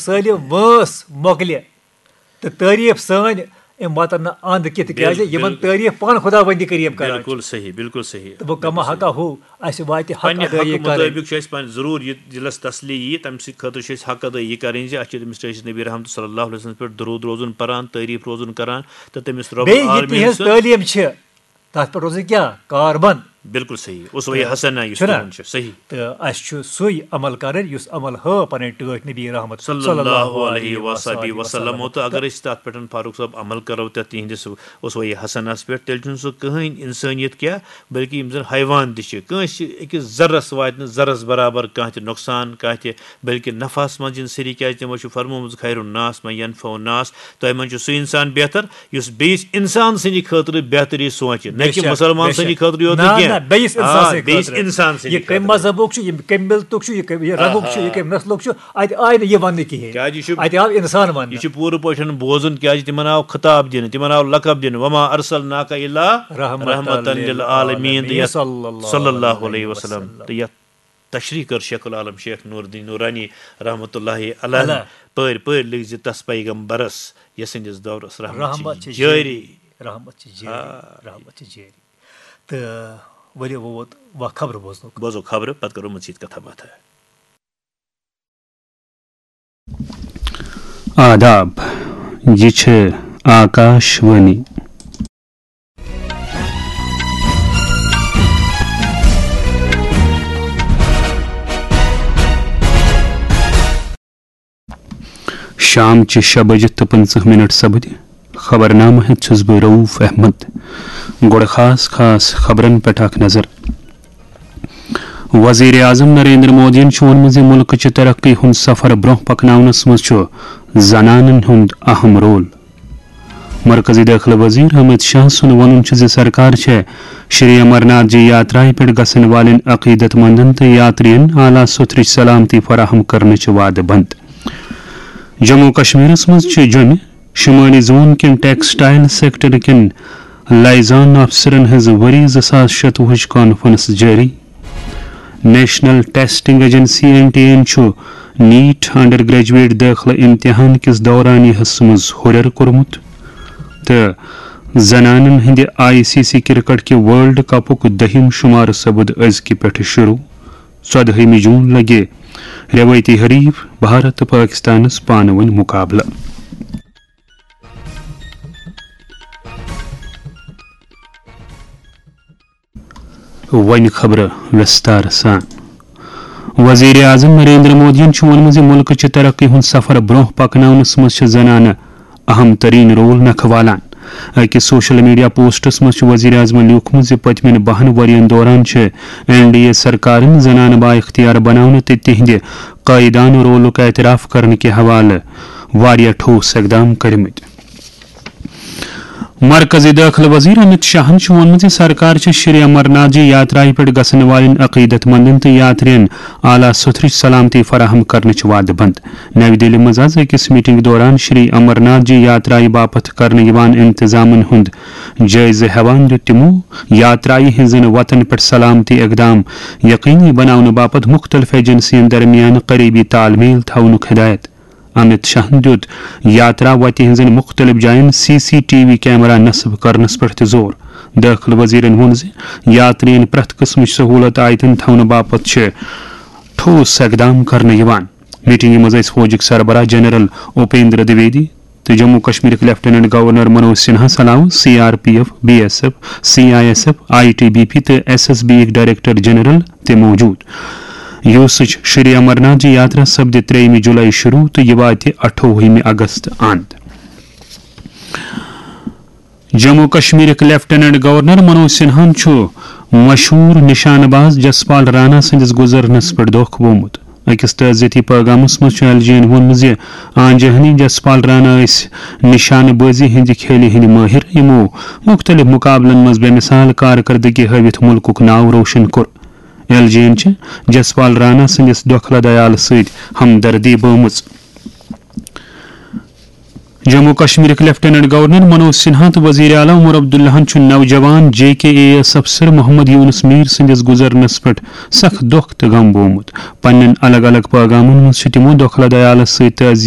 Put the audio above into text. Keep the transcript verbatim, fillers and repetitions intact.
سٲلِم وٲنٛس مۄکلہِ تہٕ تعریٖف سٲنۍ أمۍ واتن نہٕ اَنٛد کینٛہہ، تِکیٛازِ بِل-، یِمن بِل-، تعریٖف پانہٕ خۄداوندِ کریم کران چھِ۔ بِلکُل صحیح، بِلکُل صحیح۔ تہٕ وۄنۍ کما حقہ ہو، اَسہِ واتہِ حق پننہِ ادٲیی حقہٕ کرٕنۍ۔ مُطٲبِق چھُ اَسہِ پننہِ ضروٗر یہِ دِلس تسلی یی، تَمہِ سۭتۍ خٲطرٕ چھِ أسۍ حق ادٲیی کرٕنۍ زِ اَسہِ چھِ تٔمِس ٹٲٹھِس نبی رحمتہ صلی اللہ علیہ وسلم پٮ۪ٹھ درود روزُن پران، تعریٖف روزُن کران، تہٕ تٔمِس رب بیٚیہِ یہِ العالمین تِہنٛز سُنٛد۔ تعلیٖم چھِ، تَتھ پٮ۪ٹھ روزٕنۍ کیٛاہ؟ کاربن۔ بِلکُل صحیح، اسوہ حسنہ یُس چھُنہ؟ تِہُنٛد چھُ، صحیح۔ تہٕ اَسہِ چھُ سُے عمل کرٕنۍ یُس عمل ہٲو پنٕنۍ ٹٲٹھۍ نبی رحمت صلی اللہ علیہ وصحبہ وسلم۔ تہٕ اگر أسۍ تَتھ پٮ۪ٹھ فاروق صٲب عمل کرو، تَتھ تِہنٛدِس اسوہ حسنس پٮ۪ٹھ، تیٚلہِ چھُنہٕ سُہ کٕہٕنۍ اِنسٲنیت کینٛہہ، بلکہِ یِم زَن حیوان تہِ چھِ، کٲنٛسہِ أکِس ذرس واتہِ نہٕ ذرس برابر کانٛہہ تہِ نۄقصان، کانٛہہ تہِ، بلکہِ نفعس منٛز یِن سٲری، کیٛازِ تِمو چھُ فرمومُت، خیر الناس من ینفع الناس، تۄہہِ منٛز چھُ سُہ اِنسان بہتر یُس بیٚیِس اِنسان سٕنٛدِ خٲطرٕ بہتری سونٛچہِ، نہ بے کہِ شک، مُسلمان بے سٕنٛدِ شک۔ خٲطرٕ یوت نہ، نہٕ کینٛہہ۔ نہ، بیٚیِس اِنسان آ، سٕنٛدِ بیٚیِس خٲطرٕ۔ اِنسان سٕنٛدِ یہِ کَمہِ خٲطرٕ۔ مذہبُک چھُ، یہِ کَمہِ مِلتُک چھُ، یہِ کَمہِ، یہِ رنٛگُک چھُ، یہِ آہا۔ کَمہِ نسلُک چھُ، اَتہِ آیہِ نہٕ یہِ وَننہٕ کِہیٖنۍ۔ کیٛازِ یہِ چھُ، اَتہِ آو اِنسان وَننہٕ۔ یہِ چھُ پوٗرٕ پٲٹھۍ بوزُن، کیٛازِ تِمن آو خطاب دِنہٕ، تِمن آو لقب دِنہٕ، وما ارسلناک الا رحمتاً رحمتاً للعالمین، للعالمین، تہٕ یَتھ صلی اللہ صلی اللہ علیہ علیہ وسلم، وسلم۔ تہٕ یَتھ تشریح کٔر شیخ العالم شیخ نور الدین نورانی رحمتہ اللہ علیہ۔ اللہ۔ پٲرۍ پٲرۍ لیکھ زِ تس پیغمبرس یس سٕنٛدِس دورس رحمت رحمت چھِ چھِ جٲری۔ جٲری، رحمت چھِ جٲری، آ۔ رحمت چھِ جٲری۔ تہٕ ؤلِو وۄنۍ ووت وۄنۍ خبرٕ بوزنُک۔ بوزو خبرٕ، پتہٕ کرو مزید کتھا باتھا۔ آداب، یہِ چھِ آکاش وانی۔ شام چہِ شےٚ بجہِ تہٕ پٕنٛژٕہ منٹ سپدِ۔ خبرنامہٕ ہٮ۪تھ چھُس بہٕ رؤف احمد۔ گۄڈٕ خاص خاص خبرن پٮ۪ٹھ اکھ نظر۔ وزیر اعظم نریندر مودیَن چھُ ووٚنمُت زِ مُلکہٕ چہِ ترقی ہُنٛد سفر برٛونٛہہ پکناونس منٛز چھُ زنانن ہُنٛد اہم رول۔ مرکزی دٲخلہٕ وزیر امت شاہ سُنٛد وَنُن چھُ زِ سرکار چھےٚ شری امرناتھ جی یاترایہِ پٮ۪ٹھ گژھن والٮ۪ن عقیدت مندن تہٕ یاترین اعلیٰ سوٚتھرٕچ سلامتی فراہم کرنٕچ وعدٕ بنٛد۔ جموں کشمیرس منٛز چھِ جوٚمہِ شمٲلی زون کٮ۪ن ٹیکسٹائل سیکٹر کٮ۪ن لائزان افسرن ہٕنٛز ؤری زٕ ساس شتوُہٕچ کانفرنس جٲری۔ National testing agency, N T A, یَن چھُ نیٹ انڈر گریجویٹ دٲخلہٕ امتحان کِس دورانیہس منٛز ہُرٮ۪ر کوٚرمُت تہٕ زنانن ہٕنٛدِ آئی سی سی کرکٹ کہِ ورلڈ کپُک دٔہِم شُمارٕ سپُد أزکہِ پٮ۪ٹھٕ شروع۔ ژۄدہٲیمہِ جوٗن لگہِ رٮ۪وٲیتی حریف بھارت تہٕ پٲکِستانَس پانہٕ ؤنۍ مُقابلہٕ۔ وۄنۍ خبرٕ وِستار سان۔ وزیر اعظم نریندر مودیَن چھُ ووٚنمُت زِ مُلکہٕ چہِ ترقی ہُنٛد سفر برٛونٛہہ پکناونَس منٛز چھِ زنانہٕ اہم ترین رول نکھٕ والان۔ أکِس سوشل میڈیا پوسٹس منٛز چھُ وزیر اعظمَن لیوٗکھمُت زِ پٔتمٮ۪ن بَہَن ؤرۍ یَن دوران چھِ این ڈی اے سرکارن زنانہٕ بااختیار بناونہٕ تہٕ تِہنٛدِ قٲیدانہٕ رولُک اعتراف کرنہٕ کہِ حوالہٕ واریاہ ٹھوس اقدام کٔرمٕتۍ۔ مرکزی دٲخلہٕ وزیر امت شاہن چھُ ووٚنمُت زِ سرکار چھےٚ شری امرناتھ جی یاترایہِ پٮ۪ٹھ گژھن والٮ۪ن عقیدت مندن تہٕ یاترین اعلیٰ سوٚتھرٕچ سلامتی فراہم کرنٕچ وعدٕ بنٛد۔ نَوِ دِلہِ منٛز آز أکِس میٹنگ دوران شری امرناتھ جی یاترایہِ باپتھ کرنہٕ یِوان انتظامن ہُنٛد جٲیزٕ ہٮ۪وان دیُت تِمو یاترایہِ ہٕنٛزن وتن پٮ۪ٹھ سلامتی اقدام یقینی بناونہٕ باپتھ مُختٔلِف ایجنسین درمیان قریبی تال میل تھاونُک ہدایت۔ امت شاہن دیُت یاترا وتہِ ہٕنٛزن مُختٔلِف جاین C C T V camera نصب کرنس پٮ۪ٹھ تہِ زور۔ دٲخلہٕ وزیرن ووٚن زِ یاترین پرٛٮ۪تھ قٕسمٕچ سہوٗلت آیتن تھاونہٕ باپتھ چھِ ٹھوس اقدام کرنہٕ یِوان۔ میٹنگہِ منٛز ٲسۍ فوجٕکۍ سربراہ جنرل اپیندر دویدی تہٕ جموں کشمیرٕکۍ لیفٹیننٹ گورنر منوج سنہاہَس علاوٕ C R P F, B S F, C I S F, I T B P تہٕ ایس ایس بی یٕکۍ ڈائریکٹر جنرل تہِ موجود۔ یوسٕچ شری امرناتھ جی یاترا سپدِ ترٛیٚیِمہِ جولائی شروع تہٕ یہِ واتہِ اَٹھووُہمہِ اگست اند۔ جموں کشمیرٕکۍ لیفٹیننٹ گورنر منوج سنہاہَن چھُ مشہوٗر نشانہٕ باز جسپال رانا سٕنٛدِس گُزرنس پٮ۪ٹھ دۄکھ گوٚومُت۔ أکِس تعزیتی پیغامس منٛز چھُ ایل جی یَن ووٚنمُت زِ آنجہنی جسپال رانا ٲسۍ نشانہٕ بازی ہٕنٛدِ کھیلہِ ہٕنٛدۍ مٲہِر، یِمو مُختٔلِف مُقابلن منٛز بے مثال کارکردگی ہٲوِتھ مُلکُک ناو روشن کوٚر۔ ایل جی یَن چھِ جسپال رانا سٕنٛدِس دۄکھلہٕ دیالہٕ سۭتۍ ہمدردی بٲومٕژ۔ جموں کشمیرٕکۍ لیفٹیننٹ گورنر منوج سنہا تہٕ وزیر اعلیٰ عمر عبداللہَن چھُ نوجوان جے کے اے ایس افسر محمد یونس میر سٕنٛدِس گُزرنس پٮ۪ٹھ سخ دۄکھ تہٕ غم بوومُت۔ پننٮ۪ن الگ الگ پیغامن منٛز چھِ تِمو دۄکھلہٕ دیالس سۭتۍ تعزیت